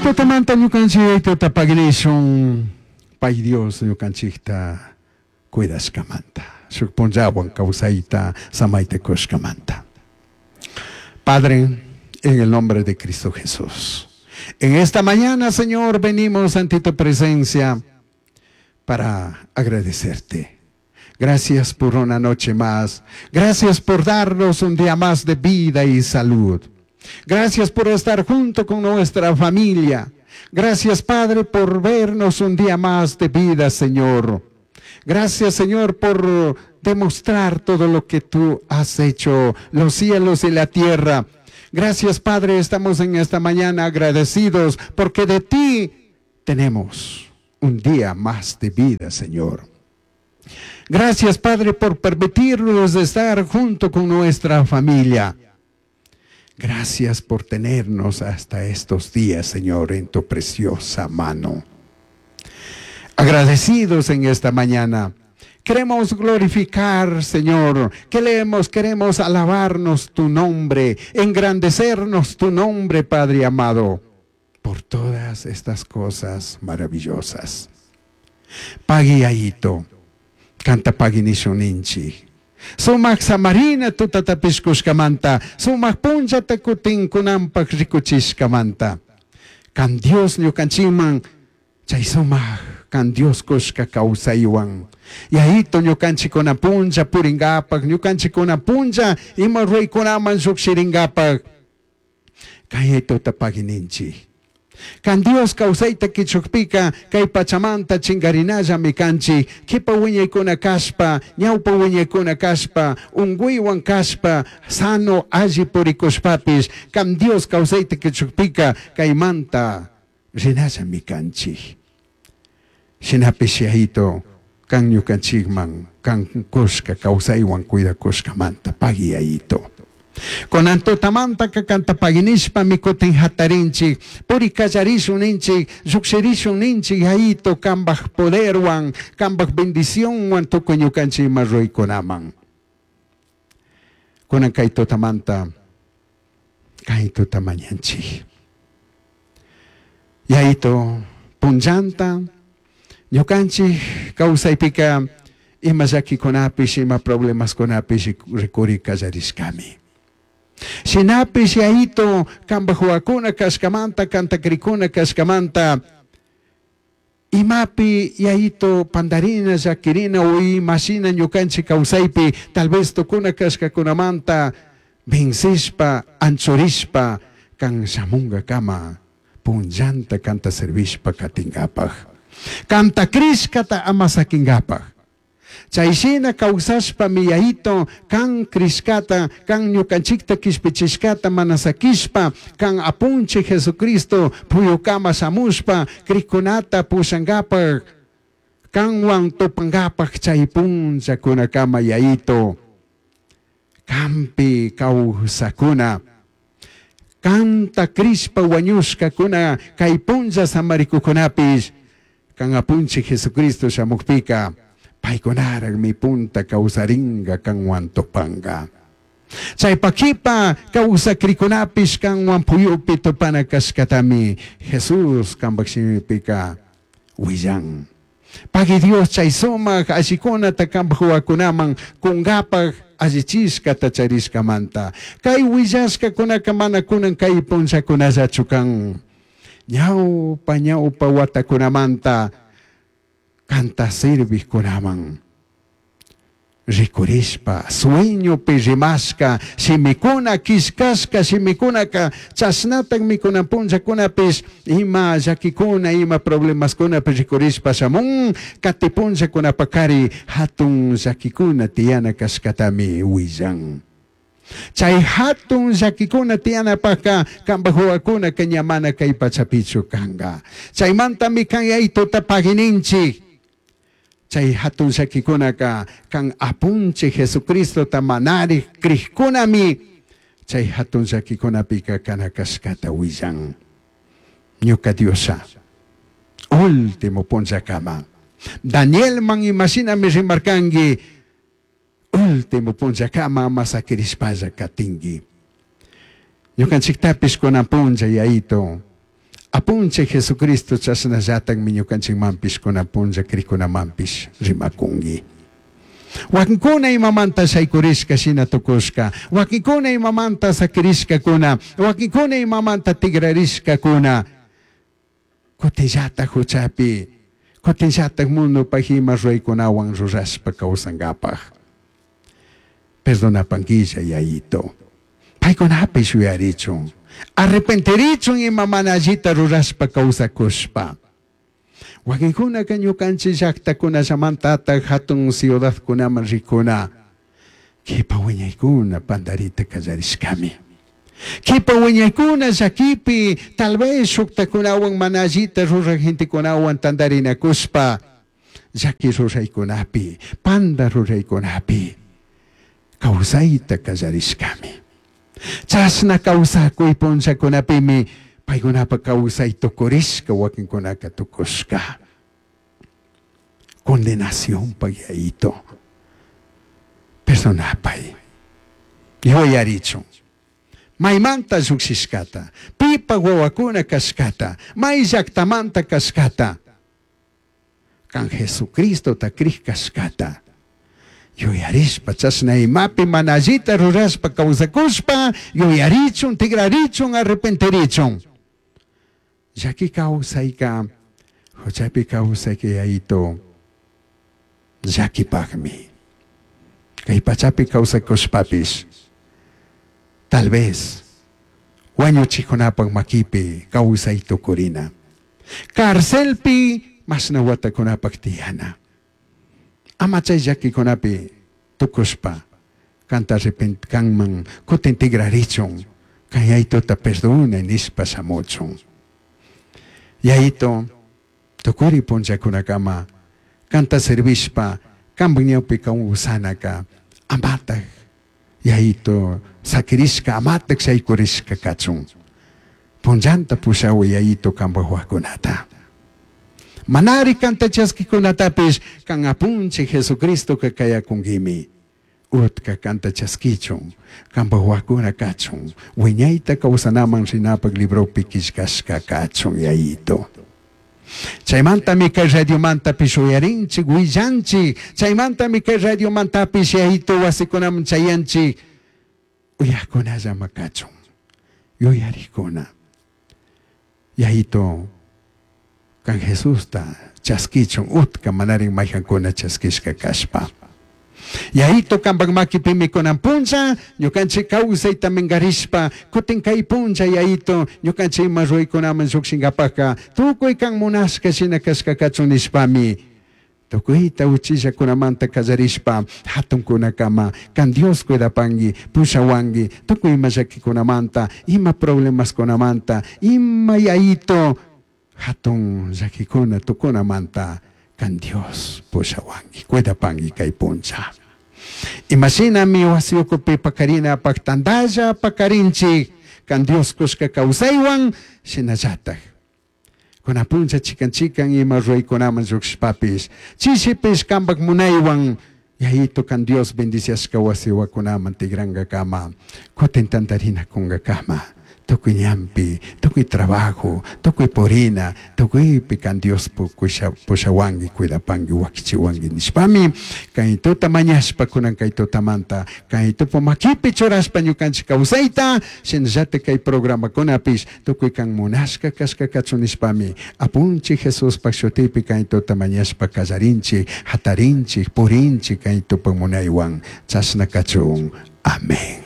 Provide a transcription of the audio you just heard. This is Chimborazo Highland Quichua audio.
Kay tutamanta ñukanchik tutapagnishun pay Dios ñukanchikta cuidashkamanta shuk punllawan kawsayta samayta kushkamanta. Padre, en el nombre de Cristo Jesús. En esta mañana, Señor, venimos ante tu presencia para agradecerte. Gracias por una noche más. Gracias por darnos un día más de vida y salud. Gracias por estar junto con nuestra familia. Gracias, Padre, por vernos un día más de vida, Señor. Gracias, Señor, por demostrar todo lo que tú has hecho, los cielos y la tierra. Gracias, Padre, estamos en esta mañana agradecidos porque de ti tenemos un día más de vida, Señor. Gracias, Padre, por permitirnos estar junto con nuestra familia. Gracias por tenernos hasta estos días, Señor, en tu preciosa mano. Agradecidos en esta mañana. Queremos glorificar, Señor. Queremos, queremos alabarnos tu nombre, engrandecernos tu nombre, Padre amado, por todas estas cosas maravillosas. Pagui ayito, canta pagui nishuninchi. Sumak samarina tutatapishkushkamanta, sumak punllata kutin kunanpak rikuchishkamanta. Kan Dios ñukanchikman chay sumak kan Dios kushka kawsaywan. Yayito ñukanchikuna punlla puringapak, ñukanchikuna punlla ima ruraykunaman llukshiringapak. Kay tuta pagininchik. Kan Dios kawsayta kichukpika kay pachamanta chingarinallami kanchik kipa wiñaykuna kashpa ñawpa wiñaykuna kashpa unkuywan kashpa sano alli purikushpapish kan Dios kawsayta kichukpika kaymanta rinallami kanchik. Shinapish yayito kan ñukanchikman kan kushka kawsaywan cuidakushkamanta pagui yayito. Kunan tutamantaka kanta paginishpami kutin hatarinchik, puri kallarishun ninchik, llukshirishun ninchik yayito kambaj poderwan, kambaj bendicionwan tukuy ñukanchik ima ruraykunaman. Kunan kay tutamanta, kay tuta mañanchik. Yayito punllanta, ñukanchik kawsaypika ima llakikunapish, ima problemaskunapish rikuri kallarishkami. Shinapish yayito kambaj wawakuna kashkamanta, kantakrikuna kashkamanta, imapi yayito pandarina, llakirina o imashina ñukanchik kawsaypi tal vez tukuna kashkakunamanta vencishpa, anchurishpa, kan shamunkakama punllanta kanta servishpa katinkapak. Kanta krishkata ama sakinkapak. Chayshina kawsashpami yayito kan krishkata, kan ñukanchikta kishpichishkata mana sakishpa, kan apunchik Jesucristo puyukama shamushpa, krikkunata pushankapak, kanwan tupankapak chay punllakunakama yayito. Kampi kawsakuna, kanta krishpa wañushkakuna kay punlla samarikukunapish, kan apunchik Jesucristo shamukpika, paykunaraqmi punta kawsarinka kanwan tupanka. Chaypa kipa kawsakrikunapish kanwan puyupi tupana kashkatami Jesús kambak shimipika willan. Pagui Dios chay sumak allikunata kambak wawakunaman kunkapak allichishkata charishkamanta. Kay willashkakunaka mana kunan kay punllakunallachu kan. Ñawpa ñawpa watakunamanta kanta sirvijkunaman rikurishpa sueñopi rimashka shimikuna killkashka shimikunaka chashnatakmi kunan punllakunapish ima llakikuna ima problemaskunapi rikurishpa shamun kati punllakunapakari hatun llakikuna tiyana kashkatami willan. Chay hatun llakikuna tiyanapaka kambaj wawakunaka ña mana kay pachapichu kanka. Chaymantami kan yaytuta pagininchik. Chay hatun llakikunaka kan apunchik Jesucristota manarik krikkunami chay hatun llakikunapika kana kashkata willan. Ñuka Diosha último punllakama. Danielman imashinami rimarkanki último punllakama ama sakirishpalla katinki. Ñukanchiktapis kunan punlla yayito. Apunchik Jesucristo chashnallatagmi ñukanchikmanpish kunan punlla krikunamanpish rimakunki. Wakinkuna imamanta shaykurishka shina tukushka, wakinkuna imamanta sakirishkakuna, wakinkuna imamanta tigrarishkakuna, kutinllatak huchapi, kutinllatak mundupaj ima ruraykunawan rurashpa kawsankapaj. Perdonapankilla Yayito. Paykunapish yuyarichun, arrepentirichun ima mana allita rurashpa kawsakushpa. Wakinkunaka ñukanchik llaktakunallamantatak hatun ciudadkunaman rikuna, kipa wiñaykuna pandarita kallarishkami. Kipa wiñaykuna llakipi tal vez shuktakunawan mana allita ruraj gentekunawan tantarinakushpa llaki ruraykunapi, panda ruraykunapi kawsayta kallarishkami. Chashna kawsakuy punllakunapimi paykunapa kawsay tukurishka wakinkunaka tukushka. Condenacionpaj Yayito. Perdonapay. Yuyarichun. Maymanta llukshishkata, pipa wawakuna kashkata, may llaktamanta kashkata, kan Jesucristota krij kashkata. Yuyarishpa chashna imapi mana allita rurashpa kawsakushpa yuyarichun, tigrarichun, arrepentirichun. Llaki kawsayka, huchapi kawsayka Yayito llakipakmi. Kay pachapi kawsakushpapish tal vez wañuchikunapak makipi kawsay tukurina. Carcelpi mashna watakunapak tiyana. Ama chay llakikunapi tukushpa kanta arrepent kanman kutin tigrarichun, kan Yayitota perdona nishpa shamuchun. Yayito tukuri punllakunakama kanta servishpa kanpak ñawpi kawsanaka amatak Yayito sakirishka amatak shaykurishka kachun. Punllanta pushawi Yayito kanpak wawakunata. Manari kanta chaskikunatapish kan apunchik Jesucristoka kayakunkimi. Utka kanta chaskichun, kanpak wawakuna kachun, wiñayta kawsanaman rinapak libropi killkashka kachun Yayito. Chaymantami kay radiomantapish uyarinchik, willanchik, chaymantami kay radiomantapish Yayito wasikunaman chayanchik, uyajkunallama kachun, yuyarikuna. Yayito, kan Jesusta chaskichun, utka manarin mayjankuna chaskishka kashpa. Yayito kanpak makipimi kunan punlla, ñukanchik kawsayta minkarishpa, kutin kay punlla Yayito, ñukanchik ima ruraykunaman llukshinkapaka, tukuy kan munashka shina kashka kachun nishpami, tukuyta uchillakunamanta kallarishpa, hatunkunakama, kan Dios cuidapanki, pushawanki, tukuy ima llakikunamanta, ima problemaskunamanta, ima Yayito, hatun llakikuna tukunamanta, kan Dios pushawanki, cuidapanki kay punlla. Imashinami wasi ukupi pakarinapak tantalla pakarinchik, kan Dios kushka kawsaywan, shinallatak. Kuna punlla chikan chikan ima ruraykunaman llukshishpapish, chishipish kanpak munaywan, Yayito kan Dios bendiciashka wasiwakunaman tigrankakama, kutin tantarinakunkakama, tukuy ñanpi, tukuy trabajo, tukuy purina, tukuypi kan Dios pushawanki, cuidapanki, wakichiwanki nishpami, kay tuta mañashpa kunan kay tutamanta, kay tupa makipi churashpa ñukanchik kawsayta, shinallatak kay programakunapish tukuy kan munashka kashka kachun nishpami, apunchik Jesuspak shutipi kay tuta mañashpa kallarinchik, hatarinchik, purinchik kay tupa munaywan, chashna kachun. Amén.